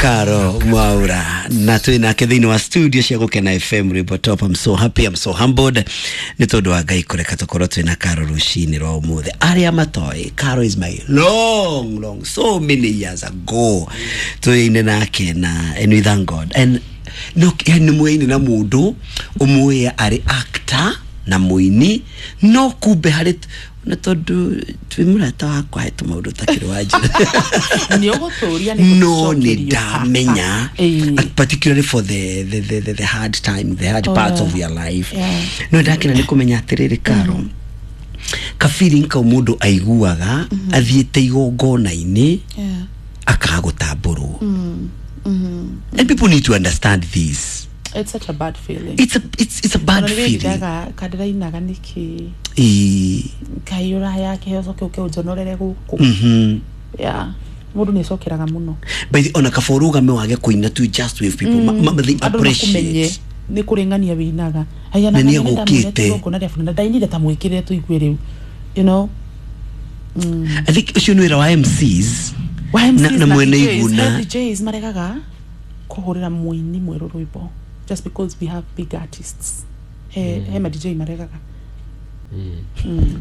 Caro Mwaura na twĩ nake thĩinĩ wa studio cia Gũkena FM Rwĩmbo Top. I'm so happy, I'm so humbled nĩ tondũ wa Ngai kũreka tũkorwo twĩ na Caro rũcinĩ rwa ũmũthĩ. Arĩa matoĩ, Caro is my long long so many years ago twĩine nake na and we thank God and no nĩ mwĩine na mũndũ ũmũĩ arĩ actor na mũini no kumbe harĩ na tondũ twĩ mũrata wakwa he tũmaũndũ takĩrĩ wa njĩra nä å gå tå ria no nä ndamenya particularly for the hard time, the hard parts of your life. No ndakena nä kå menya atä rä rä Karo, ka feeling kau må ndå aiguaga athiä te igongona-inä akaga gå tambå rwo, and people need to understand this. It's such a bad feeling. It's a bad feeling. Kandĩrainaga nĩkĩ Ĩĩ. Ngai ũraya kĩheo coke ũke ũnjonorere gũkũ. Yeah, mũndũ nĩ acokeraga mũno. By the ona kaba ũrũgame wage kũina tu, just with people they Andũ makumenye appreciate. Nĩ kũrĩ ng'ania wĩinaga. Na nĩ egũkĩte. Na ndainire ta mwĩkĩrĩre tũigue rĩu you know I think ũcio nĩ wĩra wa MCs Wa MCs na mwene DJs, iguna. he DJs maregaga kũhũrĩra mũini mwerũ rwĩmbo just because we have big artists, he ma DJ maregaga.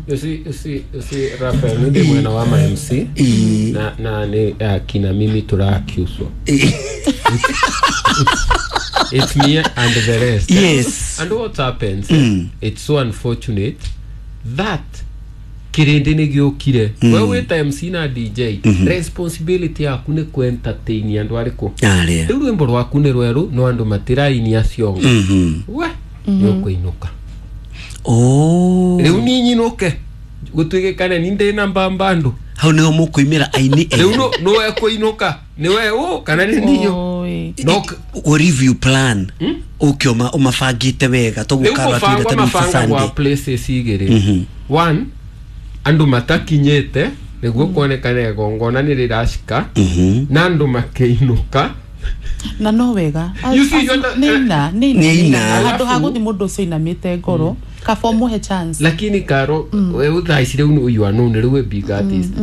You see, Raphael, nĩ mwena wa ma MC na nĩ kina mimi tũrakiuswo. It's me and the rest. And what happens, it's so unfortunate that kĩrĩndĩ nĩ gĩũkire. We wĩta MC na DJ, responsibility yaku nĩ kũ-entertain andũ arĩkũ? Arĩa. Rĩu rwĩmbo rwaku nĩ rwerũ no andũ matirainia ciongo. We nĩ ũkũinũka. Oh. Rĩu niĩ nyinũke gũtuĩke ni ndĩ na mbambandu. Hau nĩho mũkũimĩra aini Rĩu erĩ. nũwe kũinũka nĩwe ũ kana nĩ ninyo? Oi. No. O review plan ũke ũmabangĩte wega Rĩu toguo Karo atwĩre kũbangwo ta rĩu mabangagwa Sunday. places igĩrĩ. One, andũ matakinyĩte nĩguo kuonekana igongona nĩ rĩracika na andũ makĩinũka. Na no wega. You see, you under- Nĩina Nĩina. nĩina handũ ha gũthiĩ mũndũ ũcio inamĩte ngoro kaba ũmũhe chance. Lakini Karo, we thaa ici rĩu you are known, rĩu wĩ big artist,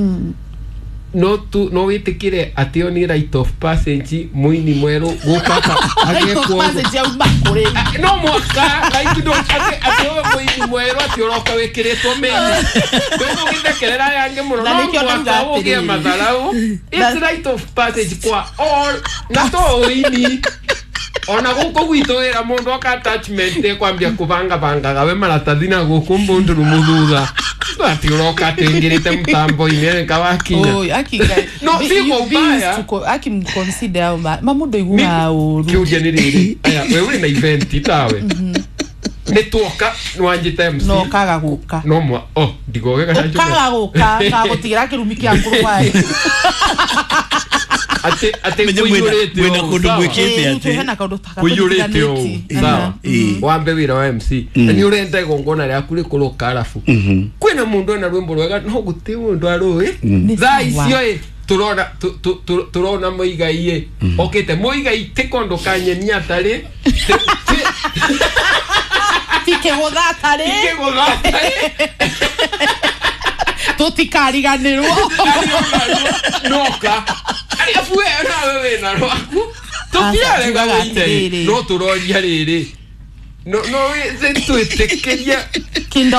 no tu no wĩtĩkĩre atĩ ĩyo nĩ rite of passage mũini mwerũ gũka agekwo? Passage yauma kũrĩ. No mwaka like no atĩ ũyũ mũini mwerũ atĩ ũroka wĩkĩrĩtwo mĩni ndũgũgĩthekerera aya angĩ mũno. Na No nĩkĩo mwaka ndauga ũgĩe atĩrĩrĩ. matharau. It's rite of passage kwa all na to ũini ona gũkũ gwitũ wĩra mũndũ oka attachment ĩkwambia kũbangabangaga we maratathi na gũkũ mbũndũrũ mũthutha atĩ ũroka atĩngĩrĩte mũtambo-inĩ kawakinya. Oi, aki ngai. No, si kwa ubaya. Aki mconsider ma mũndũ aiguaga ũru. Kĩũria nĩ rĩrĩ, aya we ũrĩ na event tawe nĩ tuoka nĩwanjĩta MC. No kaga gũka. No mwa oh ndigoge kana njuge. Ũkaga gũka kagũtigĩra kĩrumi kĩa ngũrũ. Atĩ Menye kũiyũrĩte mwĩna ũũ, kũndũ sawa? mwĩkĩte atĩ. Hena kaũndũ ta Kũiyũrĩte ũũ, sawa? Ĩĩ. Wambe wĩra wa MC na nĩ ũrenda igongona rĩaku rĩkorwo karabu kwĩna mũndũ ena rwĩmbo rwega no gũtirĩ mũndũ arũĩ. Nĩ Thaa sawa. icio ĩ tũrona tũrona mũigai ĩ okĩte mũigai tĩ kondo kanyeni atarĩ Tikĩgũtha atarĩ. Kĩgũtha atarĩ. Tũtikariganĩrwo. Noka arabu we nawe wĩna rwaku tũtirarega. Njugaga Wĩine atĩrĩrĩ. no tũroria rĩrĩ no twĩtĩkĩrie. Kĩndo.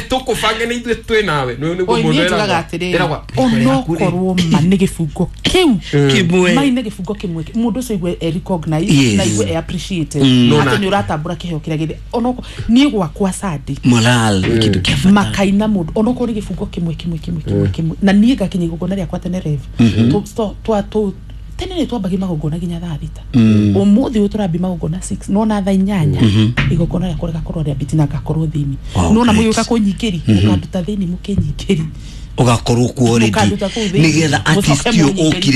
Tũkũbange nĩ ithuĩ twĩ nawe nĩ nĩguo Oi, mũndũ niĩ njugaga ĩragwo atĩrĩrĩ, ĩragwo onokorwo ma nĩ gĩbungo kĩu Kĩmwe. mai nĩ gĩbungo kĩmwe mũndũ ũcio aigue e recognized na aigue e appreciated No, atĩ nĩ ũratambũra kĩheo kĩrĩa gĩthĩ onokorwo niĩ gwakwa Sunday Moral nĩ kĩndũ kĩa bata. Makaina mũndũ onokorwo nĩ gĩbungo kĩmwe kĩmwe kĩmwe kĩmwe kĩmwe na niĩ ngakinya igongona rĩakwa tene rev tene nĩ twambagia magongona nginya thaa 6. Ũmũthĩ ũyũ tũrambia magongona 6 nona thaa 8 igongona rĩakwa rĩgakorwo rĩambĩtie na ngakorwo thĩinĩ. Wow, Nona great. mũgĩũka kũnyingĩri mũkanduta thĩinĩ mũkĩnyingĩri. Ũgakorwo kuo already Mũkanduta kũu thĩinĩ. nĩgetha artist Mũcoke ũyũ mũnyingĩrie. ũkire.